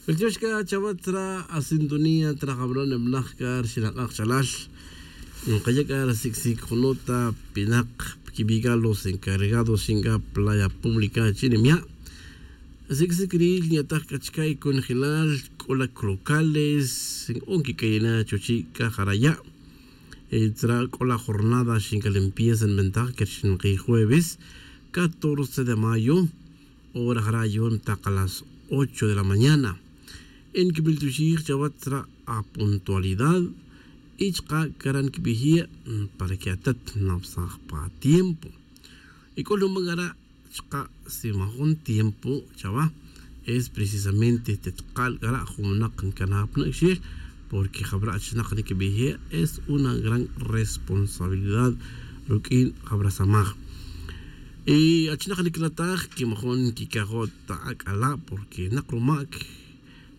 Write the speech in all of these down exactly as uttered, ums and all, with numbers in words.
Wiltiox c'a chawa tra asintonía tra jabra' nibnaj c'a rixin ak'a' kachalal. Nkaya' c'a ri sic'sic junota pinak piquibi' c'a los encargados xin c'a playa pública chi' nimya'. Sic'sic ri' nyataj c'a chica' y conjelal c'o la crocales, o nquic'ayi' na chuchi' c'a jara' ya'. Tzra' c'o la jornada xin c'a limpieza nbentaja que rixin ki jueves catorce de mayo. Hora jara' yu'un tak a las ocho de la mañana. Nquibil tuxij chawa tzra' a puntualidad y chaka' cara' nquibij ye' para que atat nabsaj pa tiempo. Y c'o luman cara' chaka' si majun tiempo chawa es precisamente tetkal cara' jun winak ncanaj pa nak'xel. Porque jabra' achinak nquibij ye' es una gran responsabilidad ruq'uin jabra' samaj. Y achinak niquilataj que majun nquicajo' ta ac'ala' porque nak rumac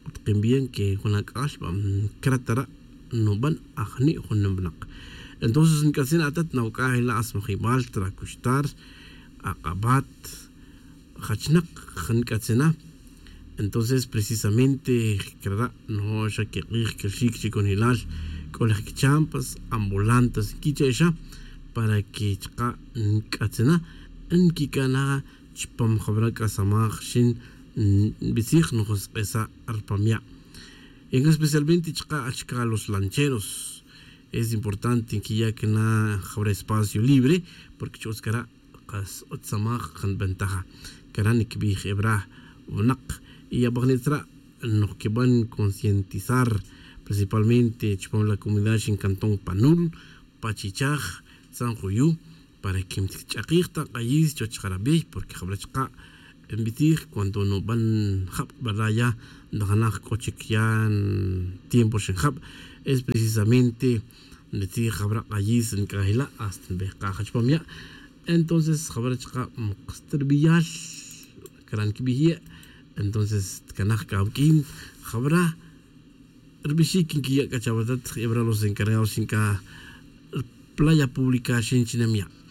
utkin bien que jun ac'al va crata ra' nuban ajni' jun nibnak. Entonces nc'atzin atat nawac'aj ila' asmajibal tra cuxtar ak'abat jachnak nc'atzina. Entonces precisamente crara' nojo' xa quik'ij quilxic chi conjelal c'o laj quichampas ambulantes nquiche' xa para que chaka' nc'atzina nquicana chupam jabra' c'a samaj xin nbitzij nojosk'esa' rupam ya'. Y especialmente chaka' achca los lancheros es importante nquiya' cana jabra' espacio libre porque chutz cara' kas utz samaj kan ventaja. Cara' niquibij ebra winak y abajnitz ra' noj quiban concientizar principalmente chupam la comunidad xin cantón panul, pachichaj, tzanjuyu para que mtch'akij ta k'ayis chuwech jarabiy porque jabra' chaka' nbitzij cuando nuban jab verdad ya ntanaj c'o chic ya tiempo rixin jab es precisamente nbitzij jabra' k'ayis nc'aj ila' hasta nbejkaj chupam ya'. Entonces jabra' chaka' mkastirbial cara' nquibij ye'. Entonces tcanaj c'a awuq'uin jabra' ribixic nquiya' c'a chawatat jebra' los encargados xin c'a playa pública xin chi nimya'.